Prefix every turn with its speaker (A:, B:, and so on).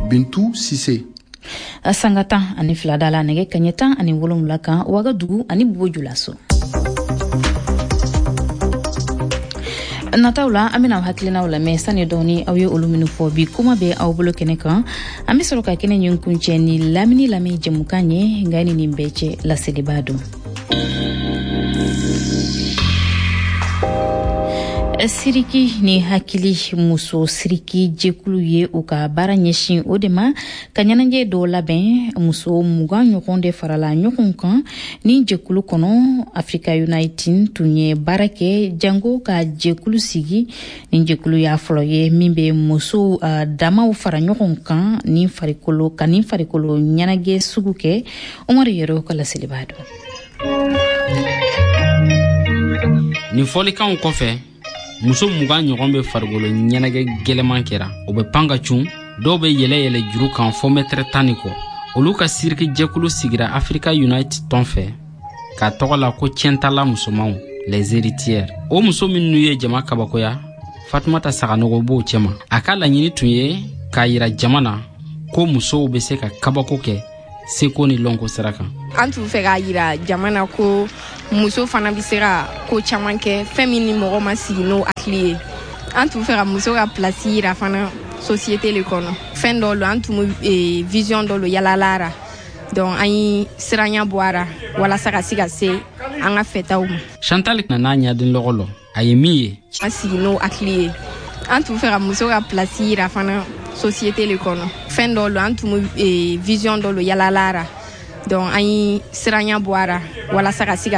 A: Bintu Sise.
B: Sanga 12 da la nɛgɛ kaɲɛ 17 kan Wagadugu ani Bobo Julaso. Nataw la, an bɛna aw hakilinaw lamɛn sani dɔɔni. Aw ye olu minnu fɔ bi kuma bɛ aw bolo kɛnɛ kan, an bɛ sɔrɔ ka kɛnɛ ɲin kuncɛ ni lamini lamɛn jɛmukan ye. Nka ni nin bɛɛ cɛ, laseliba don. Siriki ni hakili muso siriki jɛkulu ye u ka baara ɲɛsin o de ma ka ɲɛnajɛ dɔw labɛn. Muso 20 ɲɔgɔn de farala ɲɔgɔn kan ni jɛkulu kɔnɔ. Africa United tun ye baara kɛ jango ka jɛkulu sigi. Nin jɛkulu y'a fɔlɔ ye min bɛ musow damaw fara ɲɔgɔn kan ni farikolo ka nin farikolo ɲɛnajɛ sugu kɛ. Umaru Yɛrɛ ka laseliba don.
C: Nin fɔlikanw kɔfɛ, muso 20 ɲɔgɔn bɛ farikolo ɲɛnajɛ gɛlɛman kɛra. O bɛ pan ka cun, dɔw bɛ yɛlɛ yɛlɛ juru kan fɔ mɛtɛrɛ 10 ni kɔ. Olu ka siriki jɛkulu sigira Africa Unite tɔn fɛ k'a tɔgɔ la ko Tiɲɛtala musomanw, les héritières. O muso minnu ye jama kabakoya, Fatumata Saganogo b'o cɛma. A ka laɲini tun ye k'a yira jama na ko musow bɛ se ka kabako kɛ seko ni lɔnko sira kan.
D: An tun fɛ k'a yira jama na ko muso fana bɛ se ka ko caman kɛ, fɛn min ni mɔgɔ ma sigi n'o hakili ye. An tun fɛ ka muso ka place yira fana société le kɔnɔ. Fɛn dɔ lo, an tun bɛ vision dɔ lo yalala ra, donc an ye siranya bɔ a ra walasa ka se ka se an ka fɛtaw ma.
C: Chantal nana ɲaden lɔgɔ lɔ, a ye min ye.
D: An sigi n'o hakili ye. An tun fɛ ka muso ka place yira fana société le kɔnɔ. Fɛn dɔ lo, an tun bɛ vision dɔ lo yalala ra, donc an ye siranya bɔ a ra walasa ka se ka